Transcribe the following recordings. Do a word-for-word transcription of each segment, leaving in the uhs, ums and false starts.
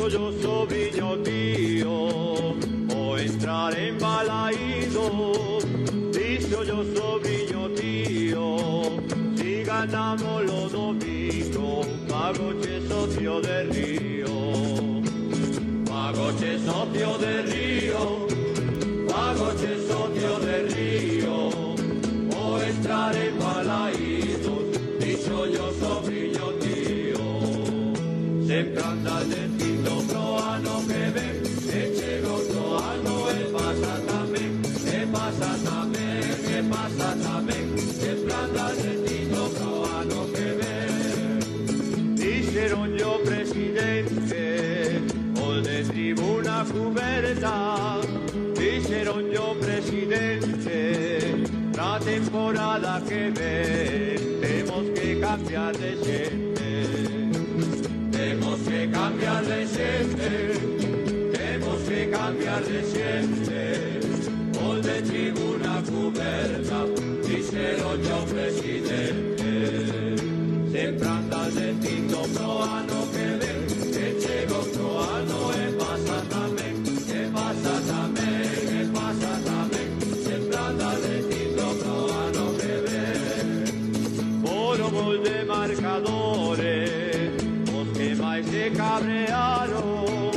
yo sobrino tío, o entrar embalaído. Dicho yo sobrino tío, si ganamos los domingos, pago che socio de río. Pago che socio de río, pago che socio de río, o entrar embalaído. Dicho yo sobrino tío, sempre anda dentro proano que ven, e chego proano e pasa tamén, e pasa tamén, e pasa tamén, sempre anda dentro proano que ven. Dixeron yo presidente, o de tribuna cuberta, dixeron yo presidente, na temporada que ven, temos que cambiar de xente. Temos que cambiar de xente, temos que cambiar de xente. O de tribuna cuberta, dixeron yo presidente. Sempre andas dicindo pro ano que ven, que chego pro ano e pasa tamén, e pasa tamén, e pasa tamén. Sempre andas dicindo pro ano que ven. Por o de marcadores, que máis se cabrearon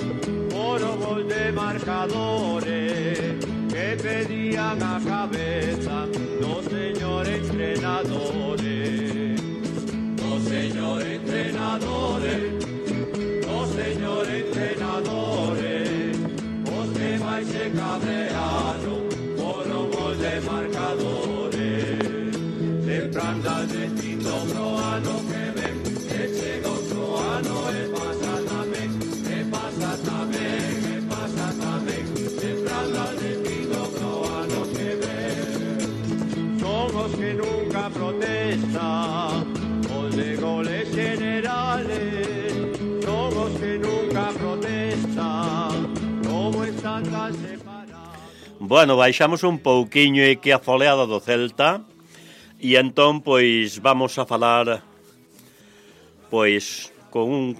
por o gol de marcadores que pedían a cabeza dos señores entrenadores, dos señores entrenadores, dos señores entrenadores, os que máis se cabrearon por o gol de marcadores. Sempre andas dicindo pro ano que ven, que chego pro ano e pasa tamén, e pasa tamén, e pasa tamén, sempre andas dicindo pro ano que ven. Son os que nunca protestan, os de goles generales, son os que nunca protestan, como están tan separados. Bueno, baixamos un pouquiño e que a foleada do Celta, e entón, pois, vamos a falar, pois, con un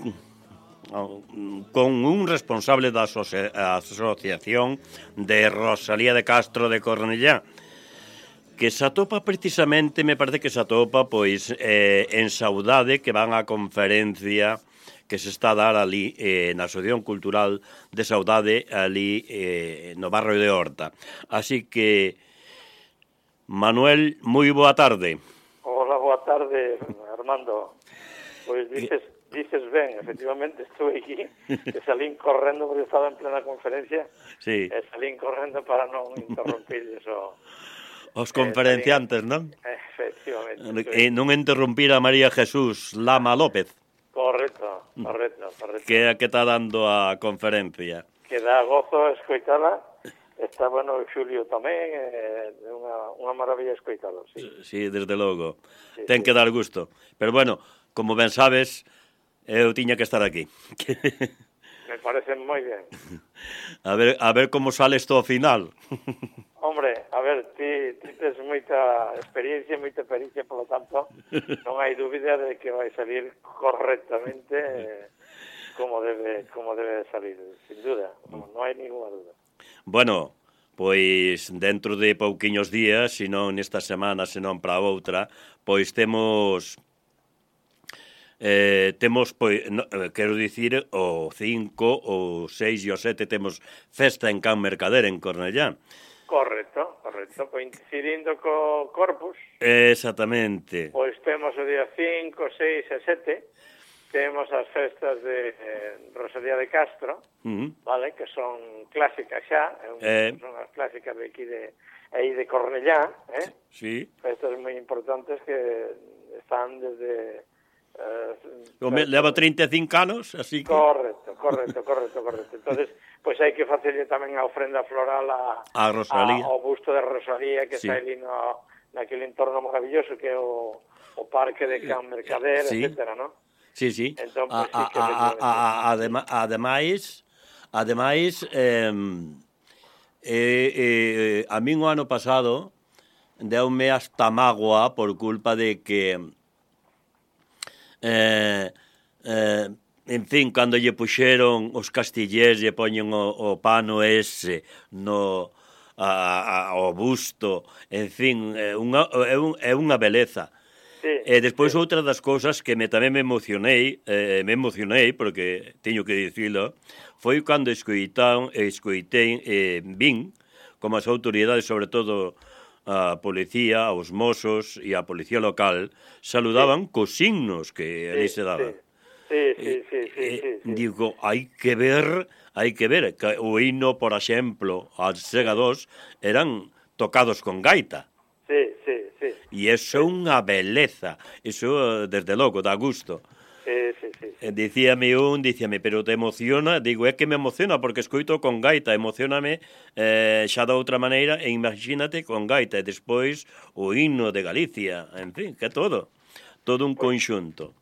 con un responsable da asocia, Asociación de Rosalía de Castro de Cornellá, que se atopa precisamente, me parece que se atopa, pois, eh, en Saudade, que van á conferencia que se está a dar ali eh, na Asociación Cultural de Saudade, ali eh, no barrio de Horta. Así que, Manuel, moi boa tarde. Hola, boa tarde, Armando. Pois dices, dices ben, efectivamente, estou aquí, que salín correndo porque estaba en plena conferencia, sí. E salín correndo para non interrumpirles o... Os conferenciantes, eh, non? Efectivamente. E non interrumpir a María Jesús Lama López. Correcto, correcto, correcto. Que é a que está dando a conferencia. Que dá gozo escoitala. Está bueno o Xulio tamén, é eh, unha, unha maravilla escoitalo, sí. Sí, desde logo. Sí, Ten sí. que dar gusto. Pero bueno, como ben sabes, eu tiña que estar aquí. Me parece moi ben. A ver, a ver como sale isto ao final. Hombre, a ver, ti, ti tes moita experiencia, moita pericia, polo tanto, non hai dúbida de que vai salir correctamente eh, como debe como debe salir, sin duda, non, non hai ninguna duda. Bueno, pois dentro de pouquiños días, se non nesta semana, se non para outra, pois temos eh, temos, pois, no, quero dicir, o cinco, o seis e o sete temos festa en Can Mercader, en Cornellá. Correcto, correcto, coincidindo co Corpus. Exactamente. Pois temos o día cinco, seis e sete, temos as festas de eh, Rosalía de Castro, uh-huh. Vale, que son clásicas xa, eh, son as clásicas de aquí de aí de Cornellá, eh? Sí. Festas moi importantes que están desde Uh, leva trinta e cinco anos, así que... Correcto, correcto, correcto, correcto. Entonces, pois pues hai que facerlle tamén a ofrenda floral a, a Rosalía, a, ao busto de Rosalía que sí. Está ali no, naquele entorno maravilloso que é o, o parque de Can Mercader, sí. Etcétera, ¿no? Sí, sí. Entón, pues, a, sí que a, a, a, a, adema, ademais, ademais eh, eh, eh, a min o ano pasado deume hasta mágoa por culpa de que Eh, eh, En fin, cando lle puxeron os castillés, lle poñen o, o pano ese no a, a, ao busto, en fin, é unha, é, un, é unha beleza. Sí, E despois sí. outra das cousas que me tamén me emocionei, eh, me emocionei, porque teño que dicilo, foi cando escoitaron, escoitei, eh, vin, como as autoridades, sobre todo a policía, os mozos e a policía local, saludaban sí. cos signos que ali sí, se daban. Sí. Sí, sí, sí, sí, eh, sí, sí. Digo, hai que ver, hai que ver, que o himno, por exemplo, as segados, eran tocados con gaita. Sí, sí, sí. E iso é unha beleza, iso, desde logo, dá gusto. Sí, sí, sí. sí. Dicíame un, dicíame, pero te emociona? Digo, é que me emociona, porque escoito con gaita, emocioname eh, xa da outra maneira, e imagínate con gaita, e despois o himno de Galicia, en fin, que todo, todo un pues, conxunto.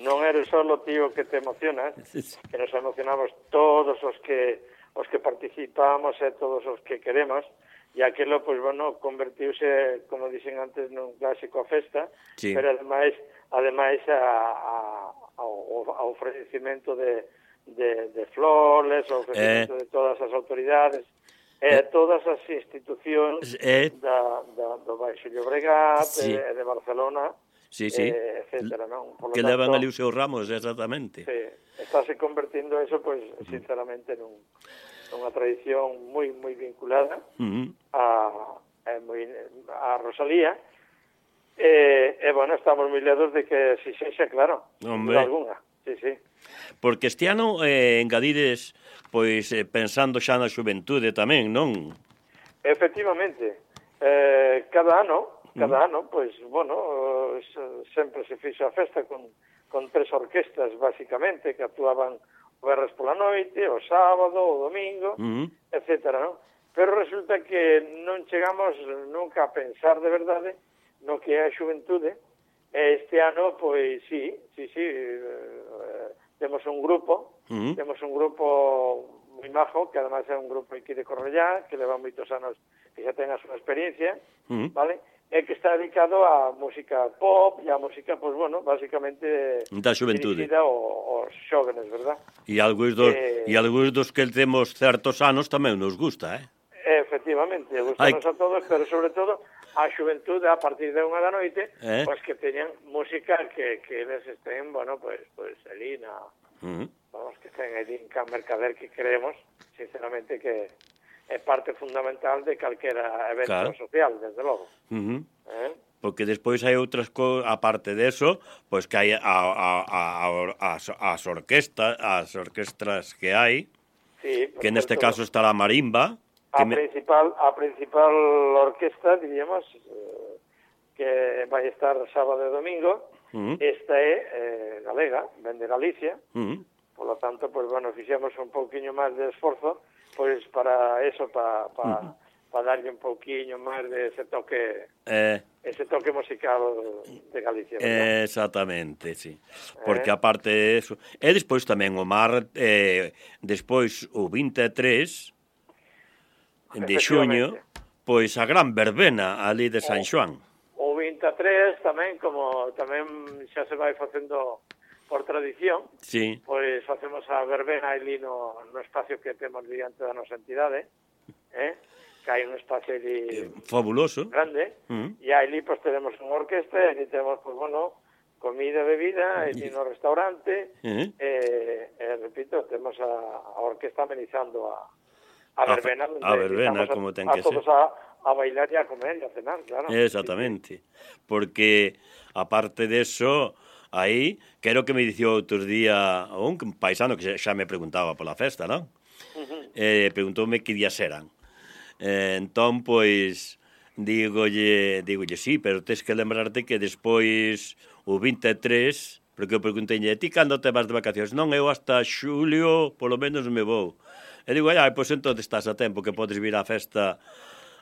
Non eres solo tío que te emocionas, que nos emocionamos todos os que os que participamos e todos os que queremos, e aquilo, pois, bueno, convertiuse, como dixen antes, nun clásico a festa, sí. pero ademais, ademais a, a, ao, ao ofrecimento de, de, de flores, ao ofrecimento eh, de todas as autoridades, e eh, todas as institucións eh, da, da, do Baixo Llobregat sí. e de Barcelona, sí, sí. Eh, etcétera, non? Por lo que tanto, levan ali os seus ramos, exactamente. Sí, estáse convertindo eso, pois, pues, sinceramente, nun, nunha tradición moi moi vinculada uh -huh. a, a, moi, a Rosalía, e, e, bueno, estamos moi ledos de que si sexa, claro, Hombre. Alguna, sí, sí. Porque este ano eh, engadides, pois, eh, pensando xa na xuventude tamén, non? Efectivamente, eh, cada ano, Cada ano, pois, bueno, sempre se fixo a festa con, con tres orquestas, basicamente, que actuaban o verres pola noite, o sábado, o domingo, uh -huh. etcétera, non? Pero resulta que non chegamos nunca a pensar de verdade no que é a xuventude, e este ano, pois, sí, sí, sí, eh, temos un grupo, uh -huh. temos un grupo moi majo, que además é un grupo aquí de Cornellá, que leva moitos anos, que xa ten a súa experiencia, uh -huh. vale? E que está dedicado a música pop e a música, pois, bueno, basicamente da xuventude, dirigida aos xóvenes, verdad? E algúns dos, eh, e algúns dos que temos certos anos tamén nos gusta, eh? Efectivamente, gustanos a todos, pero sobre todo a xuventude a partir de unha da noite, eh? pois que teñan música que, que eles estén, bueno, pois, pois, ali na... Uh -huh. Vamos, que estén ali en Can Mercader, que creemos, sinceramente, que é parte fundamental de calquera evento claro. social, desde logo. Uh -huh. eh? Porque despois hai outras cousas, aparte de eso, pois que hai a, a, a, a, as, as orquestas, as orquestras que hai, sí, que neste caso está a marimba. A me... principal, a principal orquesta, diríamos, eh, que vai estar sábado e domingo, uh -huh. esta é eh, galega, ven de Galicia, uh -huh. por lo tanto, pues bueno, fixemos un pouquiño máis de esforzo, pois pues para eso, para pa, uh -huh. pa darlle un pouquiño máis de ese toque eh, ese toque musical de Galicia, ¿verdad? Exactamente, sí. Porque eh. aparte de eso, e despois tamén o mar, eh, despois o vinte e tres de xuño, pois a gran verbena ali de San Xoán. O vinte e tres tamén, como tamén xa se vai facendo por tradición, sí. pois facemos a verbena ali no, no espacio que temos diante da nosa entidade, eh? que hai un espacio ali eh, fabuloso, grande, uh -huh. e ali pois tenemos unha orquesta, e ali temos, pois, bueno, comida e bebida, ali no restaurante, uh -huh. e, e, repito, temos a, a orquesta amenizando a, a verbena, a, a verbena, a, como ten que ser. A todos a, a bailar e a comer e a cenar, claro. Exactamente, sí, sí. Porque, aparte de eso... Aí, quero que me dicía outros día un paisano que xa me preguntaba pola festa, non? Uh -huh. Eh, preguntoume que días eran. Eh, entón, pois, digolle, digolle, sí, pero tens que lembrarte que despois o vinte e tres, porque eu preguntei, ti cando te vas de vacacións? Non, eu hasta xulio, polo menos me vou. E digo, ai, pois entón estás a tempo que podes vir á festa,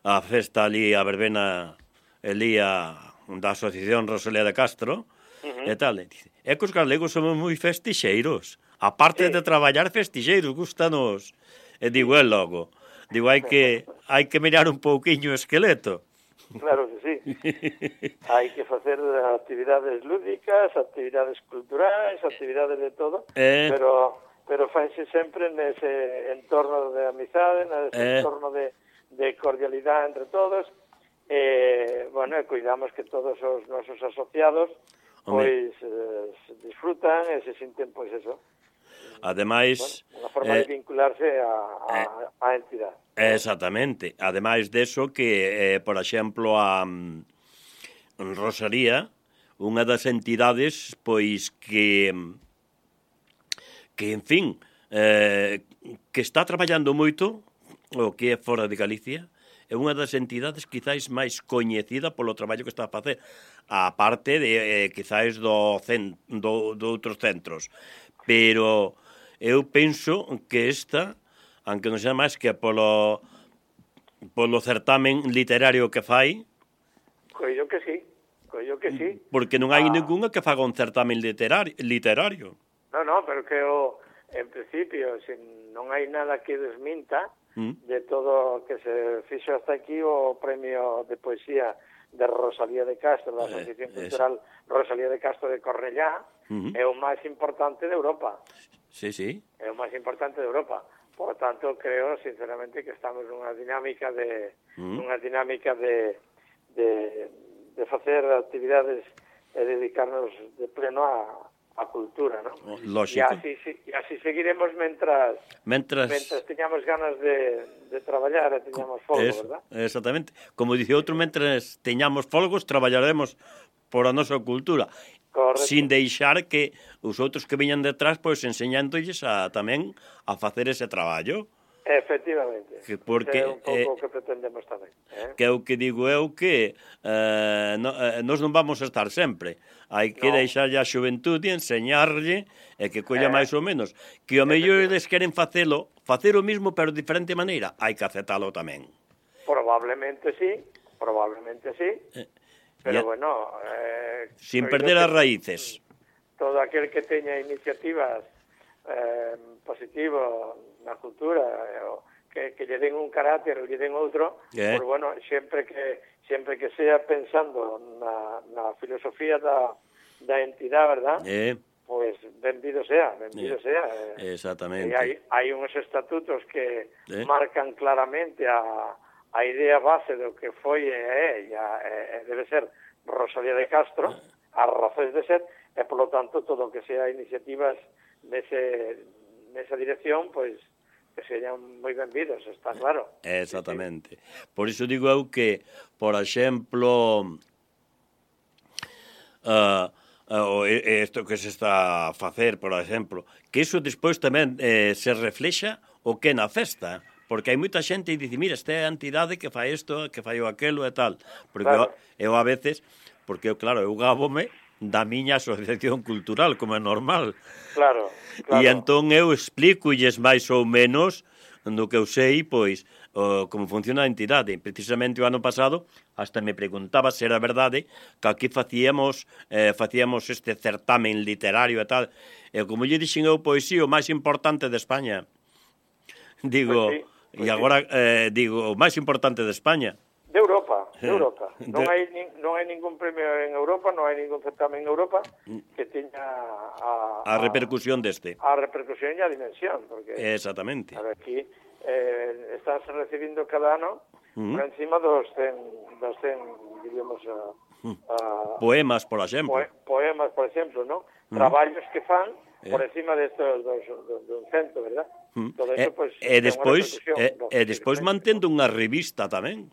a festa ali, a verbena, ali a, da Asociación Rosalía de Castro, Uh -huh. e tal, é que os galegos somos moi festixeiros, aparte sí. de traballar festixeiros, gustanos, e digo, é logo, digo, hai que hai que mirar un pouquiño o esqueleto. claro que sí. Hai que facer actividades lúdicas, actividades culturais, actividades de todo, eh... pero pero fanse sempre nese entorno de amizade, nese eh... entorno de, de cordialidade entre todos, e, bueno, e cuidamos que todos os nosos asociados pois eh, disfrutan e se sinten, pois eso, ademais, bueno, unha forma eh, de vincularse a, a, eh, a entidade. Exactamente. Ademais deso que, eh, por exemplo, a um, Rosalía, unha das entidades, pois, que, que en fin, eh, que está traballando moito, o que é fora de Galicia, é unha das entidades quizáis máis coñecida polo traballo que está a facer, a parte de, eh, quizáis, do, cen, do, do outros centros. Pero eu penso que esta, aunque non sea máis que polo, polo certamen literario que fai, coido que sí, coido que sí. Porque non hai ah. ningunha que faga un certamen literario. literario. No, no, pero que o, en principio, se non hai nada que desminta mm. de todo que se fixo hasta aquí o premio de poesía de Rosalía de Castro, da Asociación eh, Cultural es... Rosalía de Castro de Cornellá, uh-huh. é o máis importante de Europa. Sí, sí. É o máis importante de Europa. Por tanto, creo, sinceramente, que estamos nunha dinámica de uh-huh. nunha dinámica de, de, de facer actividades e dedicarnos de pleno a, a cultura, ¿no? Lógico. E así, e así seguiremos mentras, mentras... mentras teñamos ganas de, de traballar e teñamos folgo, es, verdad? Exactamente. Como dice outro, mentras teñamos folgos, traballaremos por a nosa cultura. Correcto. Sin deixar que os outros que veñan detrás, pois, enseñándolles a, tamén a facer ese traballo. Efectivamente. Que porque, é un pouco o eh, que pretendemos tamén. Eh? Que é o que digo eu que eh, no, eh, nós non vamos a estar sempre. Hai que no. deixarlle a xuventude, enseñarlle, e que colla eh. máis ou menos. Que o mellor eles queren facelo, facer o mismo, pero de diferente maneira, hai que aceptalo tamén. Probablemente sí, probablemente sí. Eh. Pero, ya, bueno... Eh, sin perder as raíces. Todo aquel que teña iniciativas eh, positivas na cultura, eh, que, que lle den un carácter ou lle den outro, eh. pues, bueno, sempre que sempre que sea pensando na, na filosofía da, da entidade, verdad? Eh. Pues benvido sea, benvido eh. sea. Eh. Exactamente. E hai, hai uns estatutos que eh. marcan claramente a... a idea base do que foi e é, e, e debe ser Rosalía de Castro, as razóns de ser, e, polo tanto, todo o que sea iniciativas nese, nesa dirección, pois, que señan moi benvidos, está claro. Exactamente. Sí, sí. Por iso digo eu que, por exemplo, uh, uh, isto que se está a facer, por exemplo, que iso despois tamén eh, se reflexa o que na festa, porque hai moita xente e dice, mira, esta é a entidade que fai isto, que fai o aquelo e tal. Porque claro. eu, eu a veces, porque eu, claro, eu gábome da miña asociación cultural, como é normal. Claro, claro. E entón eu explico-lles máis ou menos do que eu sei, pois, o, como funciona a entidade. Precisamente o ano pasado, hasta me preguntaba se era verdade que aquí facíamos, eh, facíamos este certamen literario e tal. E como lle dixen eu, pois sí, o máis importante de España. Digo... Pues sí. E agora, eh, digo, o máis importante de España. De Europa, de Europa. Non hai, non hai ningún premio en Europa, non hai ningún certamen en Europa que teña a... A, a repercusión deste. A repercusión e a dimensión, porque... Exactamente. A ver, aquí eh, estás recibindo cada ano uh-huh. por encima dos cen, dos cen diríamos, a, a, poemas, por exemplo. Poe, poemas, por exemplo, ¿no? Uh-huh. Traballos que fan por encima destos dos, dos, dos cento, ¿verdad? Todo eso, pues, e, e despois e, e despois mantendo unha revista tamén.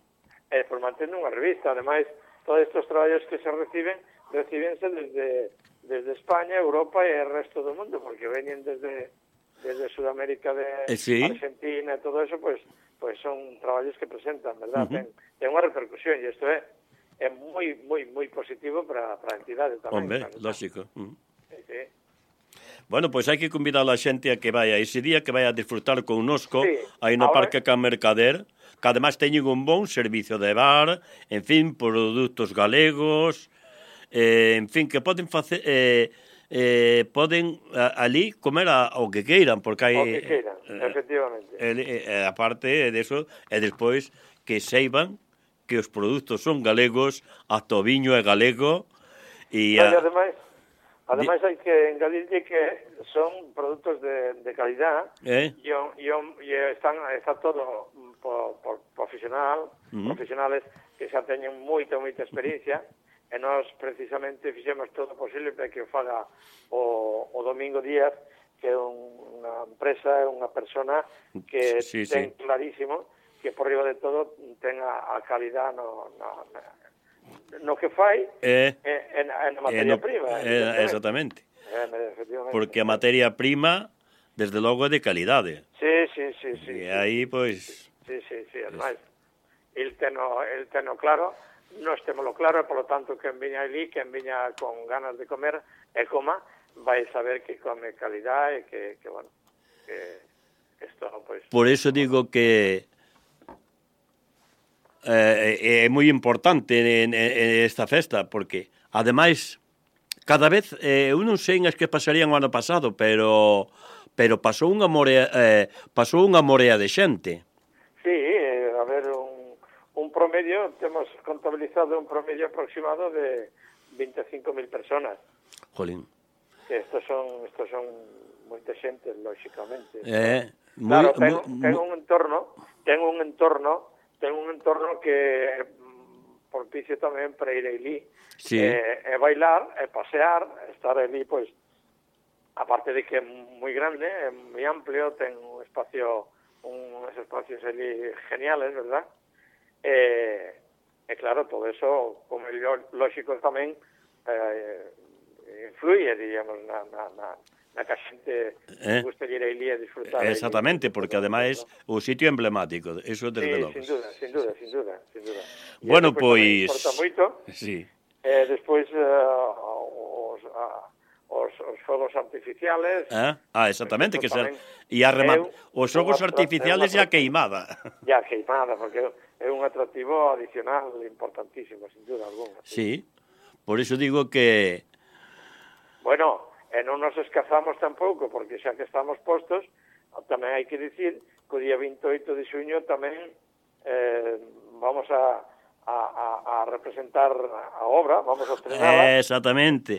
E despois mantendo unha revista, ademais, todos estes traballos que se reciben, recibense desde desde España, Europa e o resto do mundo, porque veñen desde desde Sudamérica de eh, sí. Argentina e todo eso, pues pues son traballos que presentan, verdad? Uh-huh. Ten, ten unha repercusión e isto é é moi moi moi positivo para para a entidade tamén. Hombre, claro, lógico. Uh-huh. Sí, sí. Bueno, pois pues hai que convidar a xente a que vaya ese día, que vaya a disfrutar connosco, sí, aí no ahora... Parque Can Mercader, que además teñen un bon servicio de bar, en fin, produtos galegos, eh, en fin, que poden facer... Eh, eh, poden a, ali comer a, o que queiran, porque hai... O que queiran, eh, efectivamente. Eh, eh, aparte de eso, e despois que seiban que os produtos son galegos, ata o viño é galego, e... No, A... e ademais, ademais hai que engadirlle que son produtos de, de calidad, Eh? e, o- e, o- e están, está todo por, por profesional, Uh-huh. profesionales que xa teñen moita, moita experiencia, e nós precisamente fixemos todo o posible para que o faga o, o Domingo Díaz, que é un, unha empresa, unha persona que Sí, sí. ten clarísimo que por riba de todo ten a, a calidad no, no, no que fai Eh? e, e, na, e na Eh, materia no- prima. eh, exactamente. Eh, efectivamente. Porque a materia prima, desde logo, é de calidade. Sí, sí, sí, sí. E sí. aí, pois... Sí, sí, sí, además, el teno, el teno claro, nós temolo claro, e, polo tanto, quen viña ali, quen viña con ganas de comer e coma, vai saber que come calidad e que, que bueno, que isto, pois... Por eso digo que eh, é moi importante en, en, en esta festa, porque, ademais, cada vez, eh, eu non sei as que pasarían o ano pasado, pero pero pasou unha morea, eh, pasou unha morea de xente. Sí, eh, a ver, un, un promedio, temos contabilizado un promedio aproximado de veinticinco mil personas. Jolín. Que estos son, estos son moita xente, lóxicamente. Eh, Claro, moi, ten, moi, ten un entorno, ten un entorno, ten un entorno que mm, propicio tamén para ir ali, Sí. e, e bailar, e pasear, estar ali, pois, aparte de que é moi grande, é moi amplio, ten un espacio, uns espacios ali geniales, verdad? E, e claro, todo eso, como é lógico tamén, eh, influye, digamos, na, na, na, na que a xente Eh? gusta ir ali a disfrutar. Exactamente, porque ademais o sitio emblemático, eso desde Sí, logo. sin duda, sin duda, sin duda, sin duda. E Bueno, eso, pois, tamén pois... importa moito. Sí. E despois uh, os, uh, os, os fogos artificiales. Ah, ah exactamente, que ser... tamén E a rema... é un- os xogos unha tra- artificiales é e unha a queimada. Ya queimada, porque é un atractivo adicional importantísimo, sin duda alguna. Sí, por iso digo que... Bueno, e non nos escazamos tampouco, porque xa que estamos postos, tamén hai que dicir que o día veintioito de xuño tamén eh, vamos a, a, a, a representar a obra, vamos a estrenala. Exactamente.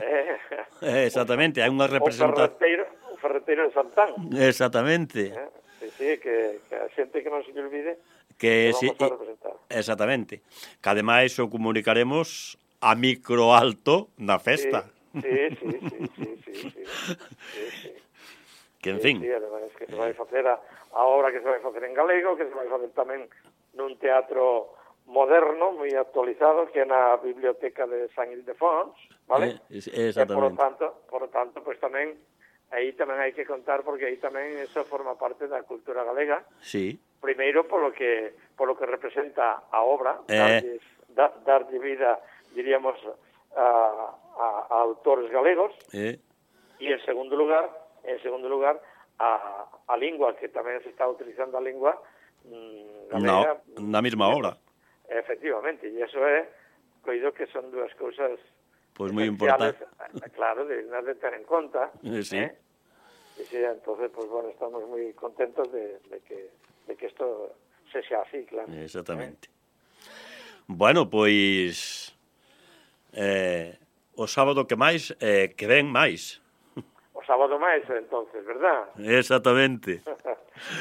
Eh, Exactamente, hai unha o representación... ferreteiro, o ferreteiro de Santán. Exactamente. Eh, sí, sí, que, que a xente que non se lle olvide Que que si... vamos a representar. Exactamente. Que ademais o comunicaremos a micro alto na festa. Sí, sí, sí, sí, sí, sí, sí, sí, sí. Que, en Sí, fin... sí, ademais que se vai facer a, a obra que se vai facer en galego, que se vai facer tamén nun teatro moderno, moi actualizado, que é na Biblioteca de San Ildefons, vale? Eh, E, por lo exactamente. tanto, por lo tanto, pues tamén, aí tamén hai que contar, porque aí tamén eso forma parte da cultura galega, Sí. primeiro polo que polo que representa a obra, Eh. darlles, da, darlle vida, diríamos, a, a, a autores galegos, Eh, e en segundo lugar, en segundo lugar, a, a lingua, que tamén se está utilizando a lingua mm, galega. no, na mesma hora. Efectivamente, e iso é, coido que son dúas cousas Pois moi esenciales, importante. claro, de, de ter en conta. Eh, sí. ¿eh? E sí, entonces, pues bueno, estamos moi contentos de, de que de que isto se xa así, claro. Exactamente. Bueno, pois... Eh, o sábado que máis, eh, que ven máis. O sábado máis, entonces, verdad? Exactamente.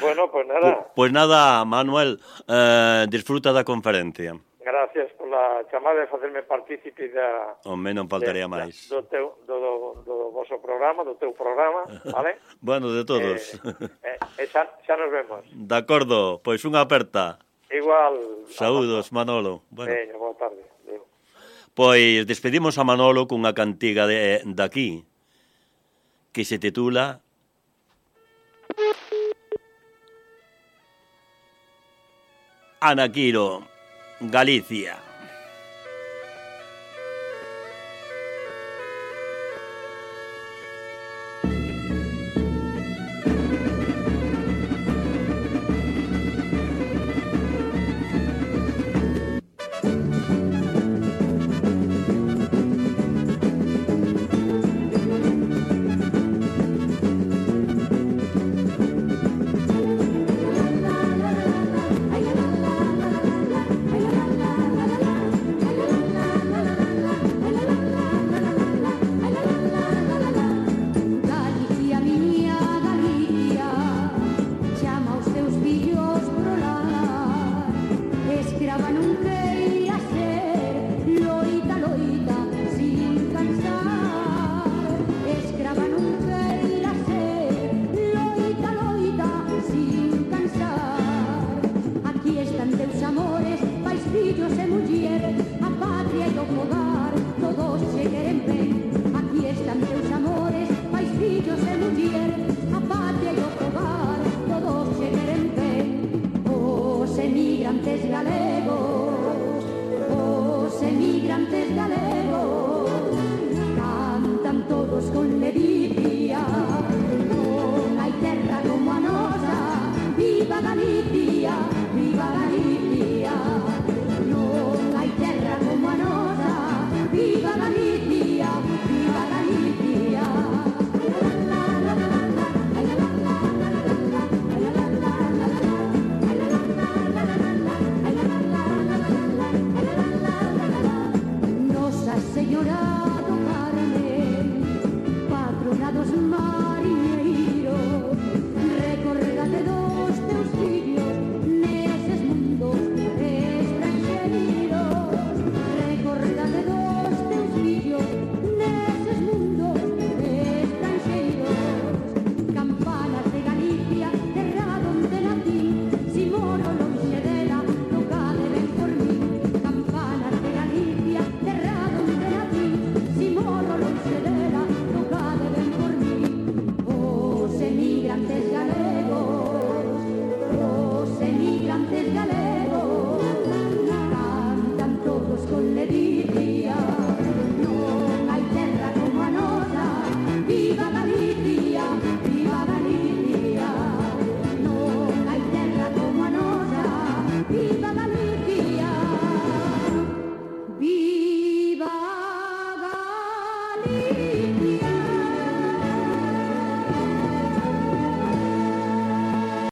Bueno, pues nada, Pois nada, Manuel, eh, disfruta da conferencia. gracias pola chamada e facerme partícipe da... Home, non faltaría de- máis. Do, teu, do, do, do vosso programa, do teu programa, vale? Bueno, de todos. Eh, eh, xa, xa nos vemos. De acordo, pois unha aperta. Igual... Saúdos, Manolo. Bueno, Veña, boa tarde. Adeu. pois despedimos a Manolo cunha cantiga de daqui que se titula Anaquiro, Galicia.